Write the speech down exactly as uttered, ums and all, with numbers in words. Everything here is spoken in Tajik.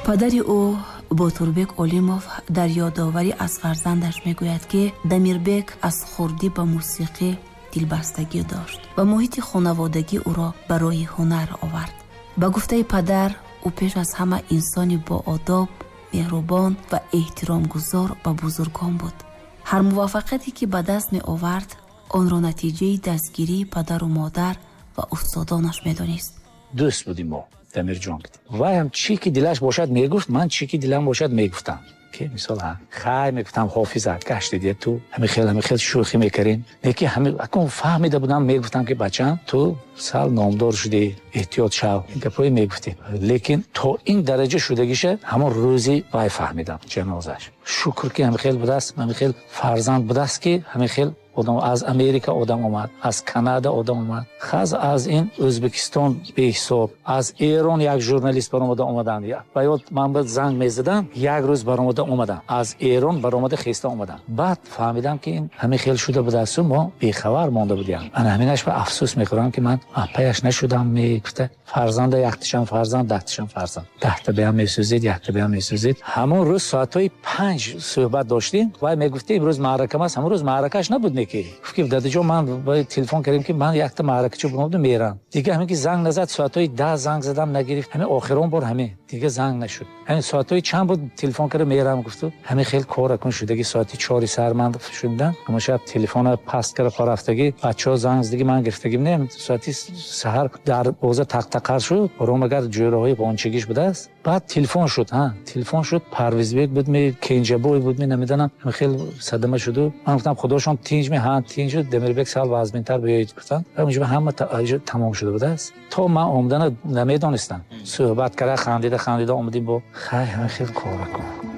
Падари ӯ Ботурбек Олимов дар ёдоварӣ аз фарзандаш мегӯяд, ки Дамирбек аз хурдӣ ба мусиқӣ дилбастагӣ дошт ва муҳити хонаводагӣ ӯро ба роҳи ҳунар овард. Ба гуфтаи падар, ӯ пеш аз ҳама инсони боодоб, меҳрубон ва эҳтиромгузор ба бузургон буд. Ҳар муваффақияте, ки ба даст меовард, онро натиҷаи дастгирии падару модар ва устодонаш медонист. Дӯст будем мо, Дамирҷон. Вай ҳам чӣ ки дилаш бошад мегуфт, ман чӣ ки дилам бошад мегуфтам. Ки мисол, хай мегуфтам, Ҳофиза, гашти дия ту, ҳами хел ҳами хел шӯхӣ мекардем. Лекин ҳами акун фаҳмида будам, мегуфтам, ки бачам, ту сал номдор шудӣ, эҳтиёт шав. Ин гапҳое мегуфтем. Лекин то ин дараҷа шудагиша ҳамон рӯзи вай фаҳмидам, ҷанозаш. Шукр, ки ҳами хел будааст, ҳами хел фарзанд будааст, ки ҳами хел одам аз Америка одам омад, аз Канада одам омад, хаз аз ин Ӯзбекистон беҳисоб, аз Эрон як журналист баромада омаданд. Ба ёд ман ба занг мезадам, як рӯз баромада омадам, аз Эрон баромада хеста омадам. Баъд фаҳмидам, ки ин ҳамин хел шуда будасту мо бехабар монда будем. Ана ҳаминаш ба афсӯс мехӯрам, ки ман паяш нашудам. Мегуфта, фарзанда якташам фарзанд, даҳташам фарзанд, даҳта беам месӯзид, якта беам месӯзид. Ҳамон рӯз соатҳои панҷ суҳбат доштем. Вай мегуфт, имрӯз маъракам аст. Ҳамон рӯз маъракаш набуд, неки гуфт, ки дадаҷон, ман телефон кардем, ки ман якта маъракачо бунобду мерам. Дига ҳамин ки занг назад, соатҳои даҳ занг задам, нагирифт. Ҳамин охирон бор ҳамин, дига занг нашуд. Ҳамин соатҳои чанд буд, телефон карда, мерам гуфту. Ҳамин хел кор акун шудаги, соати чори сар ман шудам. Ҳамон шаб телефона паст карда хорафтагӣ, бачаҳо занг задаги, ман гирифтагим не. Соати саҳар дар боза тақтақар шуд, ором агар ҷӯраҳои ғончагиш будааст. Баъд телефон шуд, ҳа, телефон шуд, Парвизбек буд ми, Кенҷабой буд ми, намедонам, ҳамин хел садама шуду. Ман гуфтам, худошон тинҷ ми? Ҳа, тинҷ шуд. Дамирбек сал вазминтар биёед, гуфтам. Онҷо ҳама тамом шуда будааст. То ман омадана намедонистам. Суҳбат карда, хандида хандида омадем бо хай, ҳамин хел кора кун.